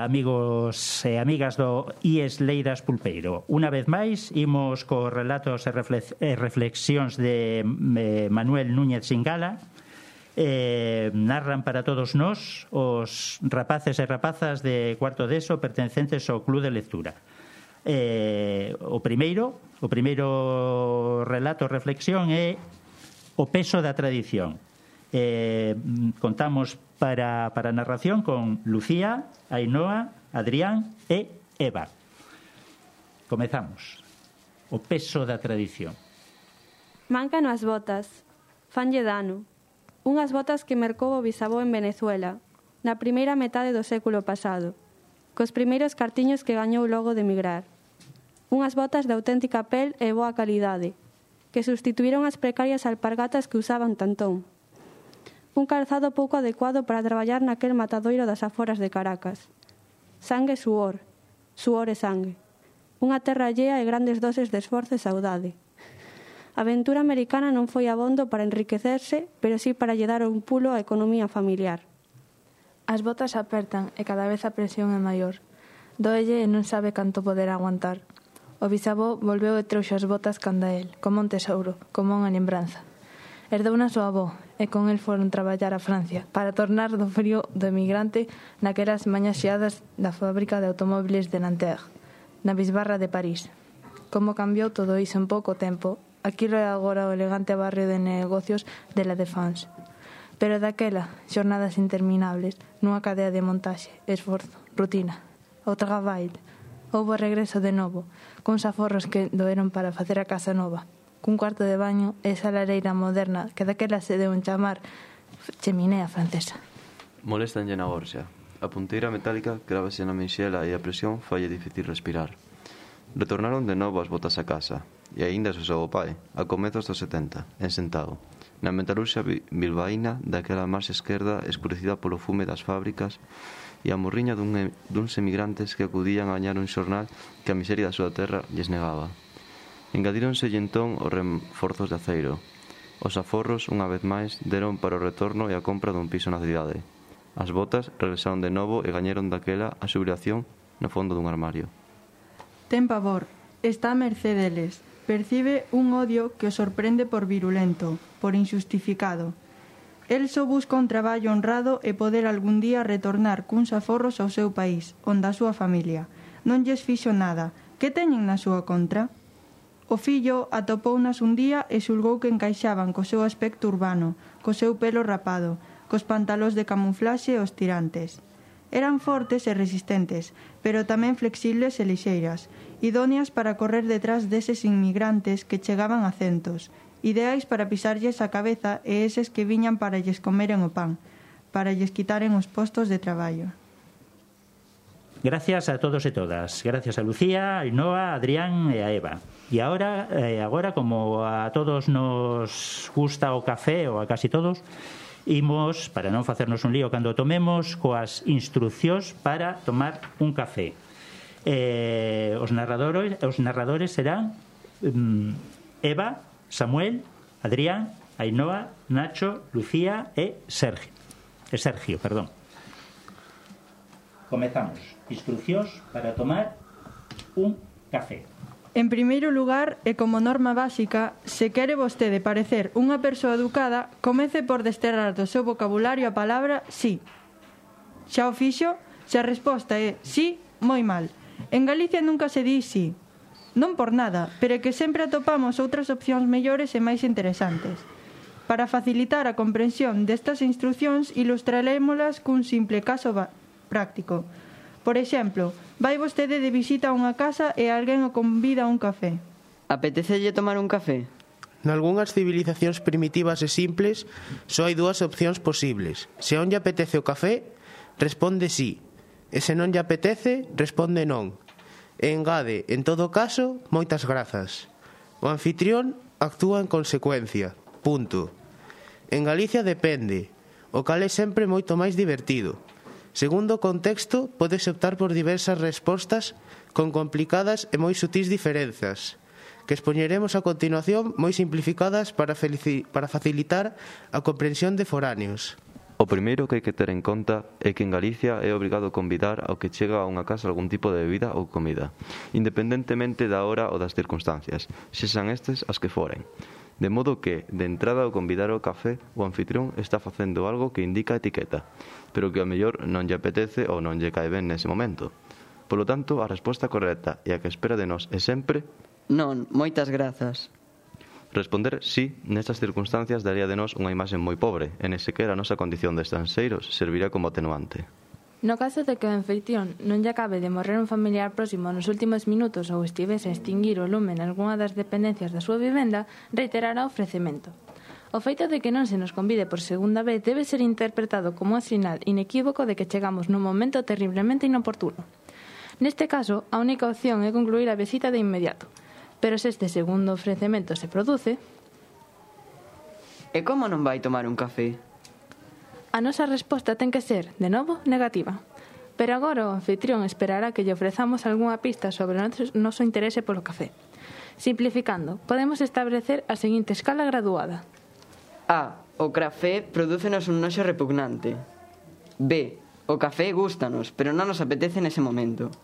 amigos e amigas do IES Leiras Pulpeiro. Unha vez máis, imos cos relatos e reflexións de Manuel Núñez Singala. Narran para todos nós os rapaces e rapazas de cuarto de ESO pertencentes ao Club de Lectura. O primeiro relato, reflexión é o peso da tradición. Contamos para a narración con Lucía, Ainhoa, Adrián e Eva. Comezamos. O peso da tradición. Mancan as botas. Fanlle dano. Unhas botas que mercou o bisavó en Venezuela, na primeira metade do século pasado, cos primeiros cartiños que gañou logo de emigrar. Unhas botas de auténtica pel e boa calidade, que sustituíron as precarias alpargatas que usaban tantón. Un calzado pouco adecuado para traballar naquel matadoiro das aforas de Caracas. Sangue e suor e sangue. Unha terra allea e grandes doses de esforzo e saudade. A aventura americana non foi abondo para enriquecerse, pero sí para lle dar un pulo á economía familiar. As botas apertan e cada vez a presión é maior. Doelle e non sabe canto poder aguantar. O bisavó volveu e trouxo as botas canda el, como un tesouro, como unha lembranza. Herdounas o avó e con el foron traballar a Francia para tornar do frío do emigrante naquelas mañas xeadas da fábrica de automóviles de Nanterre, na bisbarra de París. Como cambiou todo iso en pouco tempo, aquilo é agora o elegante barrio de negocios de La Défense. Pero daquela, xornadas interminables, nunha cadea de montaxe, esforzo, rutina, o traballo, houbo regreso de novo, cuns aforros que doeron para facer a casa nova, cun cuarto de baño e esa lareira moderna que daquela se deu en chamar cheminea francesa. Moléstanlle na gorxa. A punteira metálica crávase na minxela e a presión falle difícil respirar. Retornaron de novo as botas a casa, e aínda se usou o pai, a comezos dos 70, en Sentado, na metalurxa bilbaína daquela marxa esquerda escurecida polo fume das fábricas e a morriña duns emigrantes que acudían a gañar un xornal que a miseria da súa terra lles negaba. Engadíronse entón os reforzos de aceiro. Os aforros, unha vez máis, deron para o retorno e a compra dun piso na cidade. As botas regresaron de novo e gañaron daquela a xubilación no fondo dun armario. Ten pavor, está a mercé deles. Percibe un odio que o sorprende por virulento, por injustificado. El só busca un traballo honrado e poder algún día retornar cuns aforros ao seu país, onde a súa familia. Non lles fixo nada. Que teñen na súa contra? O fillo atopounas un día e xulgou que encaixaban co seu aspecto urbano, co seu pelo rapado, cos pantalóns de camuflaxe e os tirantes. Eran fortes e resistentes, pero tamén flexibles e lixeiras, idóneas para correr detrás deses inmigrantes que chegaban a centos, ideais para pisarlles a cabeza e eses que viñan para lles comeren o pan, para lles quitaren os postos de traballo. Gracias a todos e todas. Gracias a Lucía, a Ainhoa, a Adrián e a Eva. E agora, como a todos nos gusta o café, ou a casi todos, imos, para non facernos un lío cando tomemos, coas instruccións para tomar un café. Os narradores serán Eva, Samuel, Adrián, Ainhoa, Nacho, Lucía e Sergio. Comezamos. Instruccións para tomar un café. En primeiro lugar, e como norma básica, se quere vostede parecer unha persoa educada, comece por desterrar do seu vocabulario a palabra sí. Xa o fixo? Se a resposta é sí, moi mal. En Galicia nunca se di sí. Non por nada, pero é que sempre atopamos outras opcións mellores e máis interesantes. Para facilitar a comprensión destas instruccións, ilustrarémolas cun simple caso práctico. Por exemplo, vai vostede de visita a unha casa e alguén o convida a un café. Apetecelle tomar un café? Nalgunhas civilizacións primitivas e simples só hai dúas opcións posibles. Se non lle apetece o café, responde sí. E se non lle apetece, responde non. E engade, en todo caso, moitas grazas. O anfitrión actúa en consecuencia. Punto. En Galicia depende, o cal é sempre moito máis divertido. Segundo o contexto, podes optar por diversas respostas con complicadas e moi sutís diferenzas, que expoñeremos a continuación moi simplificadas para facilitar a comprensión de foráneos. O O primeiro que hai que ter en conta é que en Galicia é obrigado convidar ao que chega a unha casa algún tipo de bebida ou comida, independentemente da hora ou das circunstancias, sexan estes as que foren. De modo que, de entrada ao convidar ao café, o anfitrión está facendo algo que indica a etiqueta, pero que ao mellor non lle apetece ou non lle cae ben nese momento. Polo tanto, a resposta correcta e a que espera de nós é sempre Non, moitas grazas. responder sí nestas circunstancias daría de nós unha imaxe moi pobre, e nem sequera a nosa condición de estranxeiros servirá como atenuante. No caso de que o anfitrión non lle acabe de morrer un familiar próximo nos últimos minutos ou estivese a extinguir o lume en algunha das dependencias da súa vivenda, reiterará o ofrecemento. O feito de que non se nos convide por segunda vez debe ser interpretado como un sinal inequívoco de que chegamos nun momento terriblemente inoportuno. Neste caso, a única opción é concluir a visita de inmediato. Pero se este segundo ofrecemento se produce, E como non vai tomar un café? a nosa resposta ten que ser, de novo, negativa. Pero agora o anfitrión esperará que lle ofrezamos algunha pista sobre o noso interese polo café. Simplificando, podemos establecer a seguinte escala graduada. A. O café prodúcenos un noxo repugnante. B. O café gústanos, pero non nos apetece nese momento.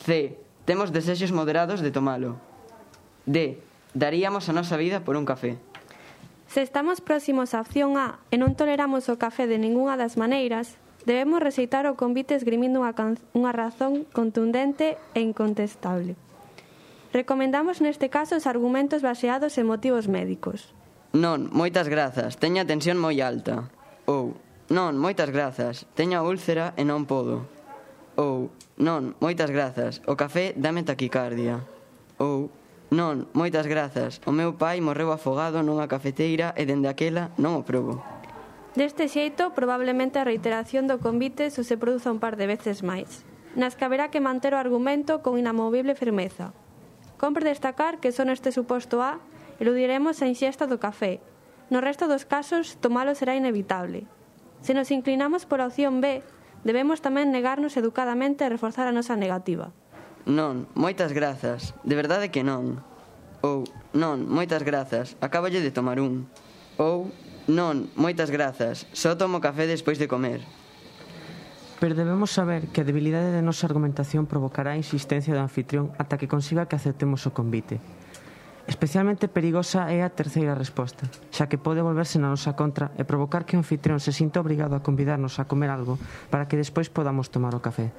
C. Temos desexos moderados de tomalo. D. Daríamos a nosa vida por un café. Se estamos próximos á opción A e non toleramos o café de ningunha das maneiras, debemos rexeitar o convite esgrimindo unha razón contundente e incontestable. Recomendamos neste caso os argumentos baseados en motivos médicos. Non, moitas grazas, teño a tensión moi alta. Ou, non, moitas grazas, teño a úlcera e non podo. Ou, non, moitas grazas, o café dame taquicardia. Ou, non, moitas grazas, o meu pai morreu afogado nunha cafeteira e dende aquela non o probo. Deste xeito, probablemente a reiteración do convite só se produza un par de veces máis, nas que haberá que manter o argumento con inamovible firmeza. Compre destacar que só neste suposto A eludiremos a inxesta do café. No resto dos casos, tomalo será inevitable. Se nos inclinamos pola opción B, debemos tamén negarnos educadamente a reforzar a nosa negativa. Non, moitas grazas, de verdade que non. Ou, non, moitas grazas, acáballe de tomar un. Ou, non, moitas grazas, só tomo café despois de comer. Pero debemos saber que a debilidade de nosa argumentación provocará a insistencia do anfitrión ata que consiga que aceptemos o convite. Especialmente perigosa é a terceira resposta, xa que pode volverse na nosa contra e provocar que o anfitrión se sinta obrigado a convidarnos a comer algo para que despois podamos tomar o café.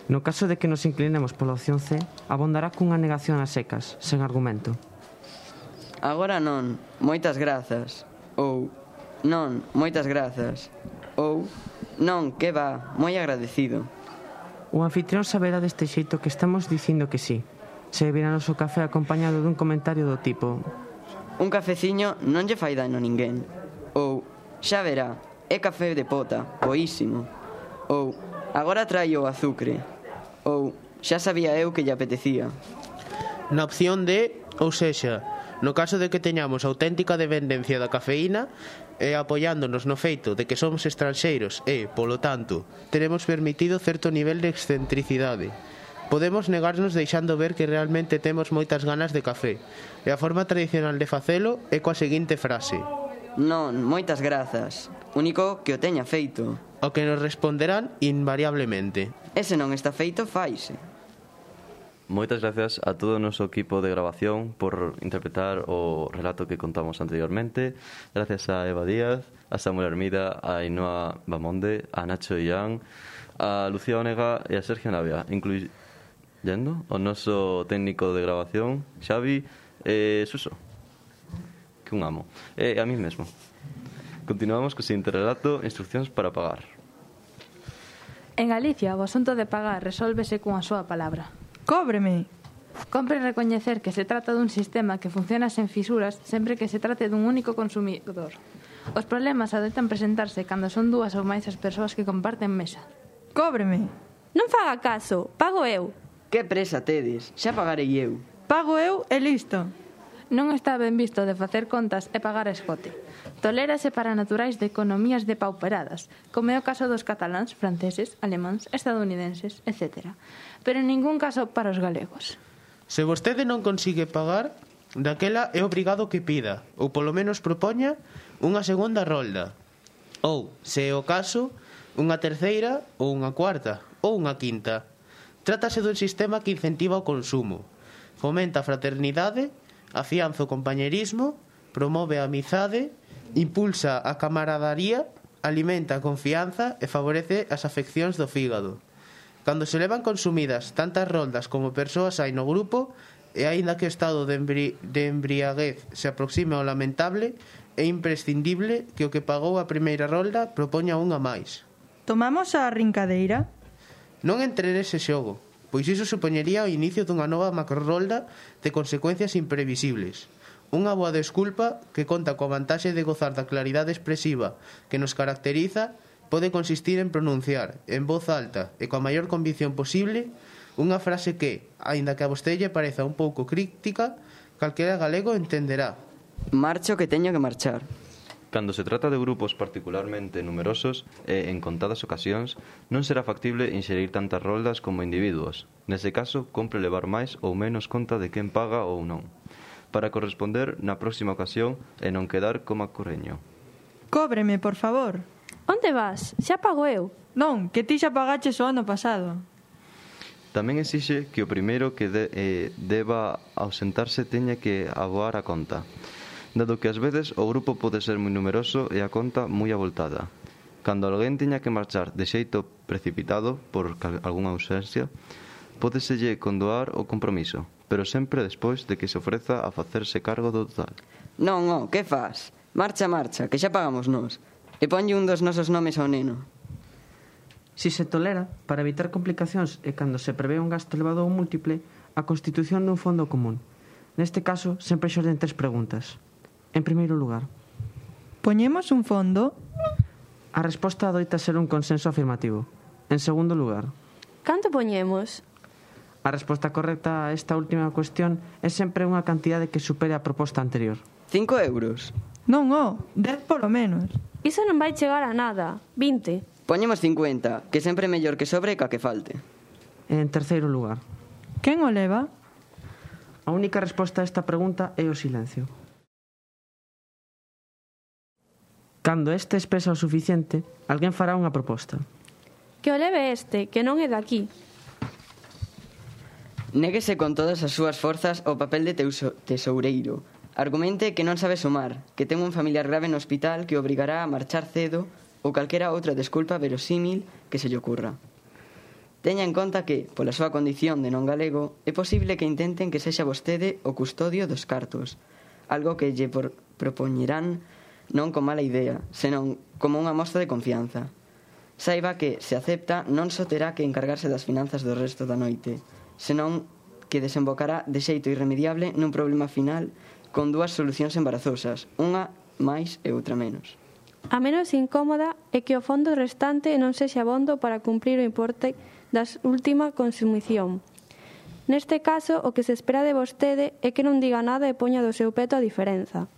No caso de que nos inclinemos pola opción C, abondará cunha negación a secas, sen argumento. Agora non, moitas grazas. Ou, non, moitas grazas. Ou, non, que va, moi agradecido. O anfitrión saberá deste xeito que estamos dicindo que sí. Se beberá noso café acompañado dun comentario do tipo: Un cafeciño non lle fai dano a ninguén. Ou, xa verá, é café de pota, boísimo. Ou, agora traio o azucre. Ou, xa sabía eu que lle apetecía. Na opción D, ou sexa, no caso de que teñamos auténtica dependencia da cafeína e apoiándonos no feito de que somos estranxeiros e, polo tanto, teremos permitido certo nivel de excentricidade, podemos negarnos deixando ver que realmente temos moitas ganas de café, e a forma tradicional de facelo é coa seguinte frase: Non, moitas grazas, único que o teña feito. O que nos responderán invariablemente: Ese non está feito, faise. Moitas gracias a todo o noso equipo de grabación por interpretar o relato que contamos anteriormente. Gracias a Eva Díaz, a Samuel Hermida, a Ainhoa Bamonde, a Nacho Illán, a Lucía Onega e a Sergio Navia, incluyendo o noso técnico de grabación, Xavi e Suso, que un amo, e a mí mesmo. Continuamos co seguinte relato: instruccións para pagar. En Galicia, o asunto de pagar resolvese cunha súa palabra. Cóbreme! Compre recoñecer que se trata dun sistema que funciona sen fisuras sempre que se trate dun único consumidor. Os problemas adoitan presentarse cando son dúas ou máis as persoas que comparten mesa. Cóbreme! Non faga caso, pago eu. Que presa tedes, xa pagarei eu. Pago eu e listo. Non está ben visto de facer contas e pagar a escote. Tolérase para naturais de economías depauperadas, como é o caso dos cataláns, franceses, alemáns, estadounidenses, etc. Pero en ningún caso para os galegos. Se vostede non consigue pagar, daquela é obrigado que pida, ou polo menos propoña, unha segunda rolda. Ou, se é o caso, unha terceira ou unha cuarta ou unha quinta. Trátase dun sistema que incentiva o consumo, fomenta a fraternidade, afianza o compañerismo, promove a amizade, impulsa a camaradaría, alimenta a confianza e favorece as afeccións do fígado. Cando se levan consumidas tantas roldas como persoas hai no grupo, e aínda que o estado de embriaguez se aproxime ao lamentable, é imprescindible que o que pagou a primeira rolda propoña unha máis. Tomamos a rincadeira? Non entre nese xogo, pois iso supoñería o inicio dunha nova macrorolda de consecuencias imprevisibles. Unha boa desculpa que conta coa vantaxe de gozar da claridade expresiva que nos caracteriza pode consistir en pronunciar, en voz alta e coa maior convicción posible, unha frase que, aínda que a vostede lle pareza un pouco críptica, calquera galego entenderá. Marcho que teño que marchar. Cando se trata de grupos particularmente numerosos e en contadas ocasións, non será factible inxerir tantas roldas como individuos. Nese caso, compre levar máis ou menos conta de quen paga ou non, para corresponder na próxima ocasión e non quedar como a correño. Cóbreme, por favor. Onde vas? Xa pago eu. Non, que ti xa pagaches o ano pasado. Tamén exixe que o primeiro que deba ausentarse teña que aboar a conta, dado que ás veces o grupo pode ser moi numeroso e a conta moi avoltada. Cando alguén teña que marchar de xeito precipitado por algunha ausencia, pódeselle condoar o compromiso, pero sempre despois de que se ofreza a facerse cargo do total. Non, que faz? Marcha, que xa pagamos nós. E ponlle un dos nosos nomes ao neno. Si se tolera, para evitar complicacións e cando se prevé un gasto elevado ou múltiple, a constitución dun fondo común. Neste caso, sempre xorden 3 preguntas. En primeiro lugar, poñemos un fondo? A resposta adoita ser un consenso afirmativo. En segundo lugar, Canto poñemos? a resposta correcta a esta última cuestión é sempre unha cantidade que supere a proposta anterior. 5 euros. Non, 10 polo menos. Iso non vai chegar a nada. 20. Poñemos 50, que sempre é mellor que sobre ca que falte. En terceiro lugar, Quen o leva? a única resposta a esta pregunta é o silencio. Cando este expresa o suficiente, alguén fará unha proposta. Que o leve este, que non é daqui. Néguese con todas as súas forzas ao papel de tesoureiro. Argumente que non sabe sumar, que ten un familiar grave no hospital que obrigará a marchar cedo ou calquera outra desculpa verosímil que se lle ocurra. Teña en conta que, pola súa condición de non galego, é posible que intenten que sexa vostede o custodio dos cartos, algo que lle propoñerán non con mala idea, senón como unha mostra de confianza. Saiba que, se acepta, non só terá que encargarse das finanzas do resto da noite, senón que desembocará de xeito irremediable nun problema final con 2 solucións embarazosas, unha máis e outra menos. A menos incómoda é que o fondo restante non sexa abondo para cumprir o importe da última consumición. Neste caso, o que se espera de vostede é que non diga nada e poña do seu peto a diferenza.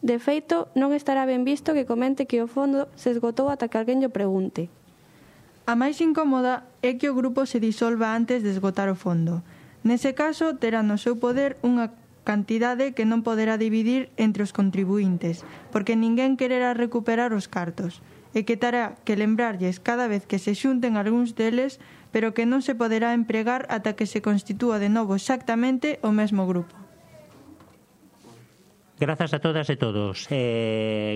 De feito, non estará ben visto que comente que o fondo se esgotou ata que alguén lle pregunte. A máis incómoda é que o grupo se disolva antes de esgotar o fondo. Nese caso, terá no seu poder unha cantidade que non poderá dividir entre os contribuíntes, porque ninguén quererá recuperar os cartos, e que terá que lembrarlles cada vez que se xunten algúns deles, pero que non se poderá empregar ata que se constitúa de novo exactamente o mesmo grupo. Grazas a todas e todos.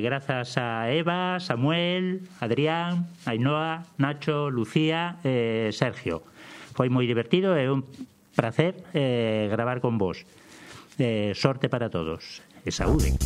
Grazas a Eva, Samuel, Adrián, Ainhoa, Nacho, Lucía e Sergio. Foi moi divertido e un placer gravar con vos. Sorte para todos e saúde.